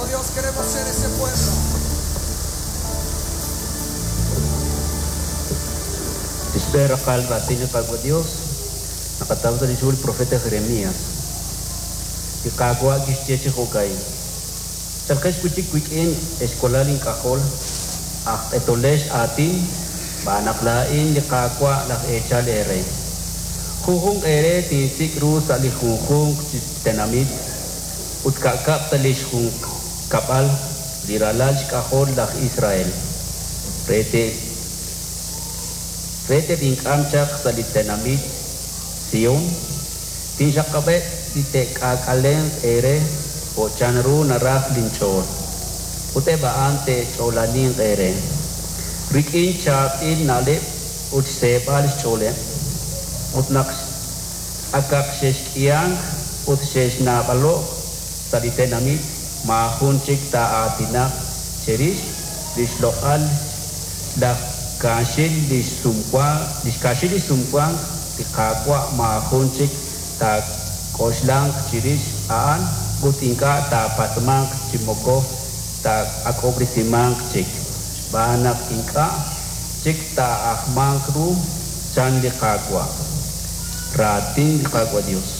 Oh Dios, queremos ser ese pueblo. Li xb'een raqal raatin li Qaawa' Dios naqataw sa' lix hu li profeta Jeremias. Li Qaawa' kixye chi jo'ka'in, Chalqex wi' chik wik'in, ex walal ink'ajol, aj q'etolex aatin, xb'aan naq laa'in li Qaawa' laj eechal eere. Junjunq eere tinsik' ru sa' li junjunq chi tenamit ut ka'kab' sa' lix junkab'al li ralal xk'ajol laj Israel, re te re teb'ink'am chaq sa' li tenamit Sion. Tinxaqab'eb' li te'k'aak'alenq eere jo' chanru naraj linch'ool, ut eb' a'an te'ch'oolaninq eere rik'in chaab'il na'leb' ut xseeb'al xch'ooleb'. Ut naq akaq xexk'ihank ut xexnaab'alo'k sa' li tenamit, maajun chik taa'aatinaq cherix li xloq'al laj kaaxil li xkaaxil li xsumwank li Qaawa', maajun chik taak'oxlanq chirix a'an ut ink'a' taapatz'manq chi moko taa'ak'ob'resimanq chik, xb'aan naq ink'a' chik taa'ajmanq ru, chan li Qaawa'. Raatin li Qaawa' Dios.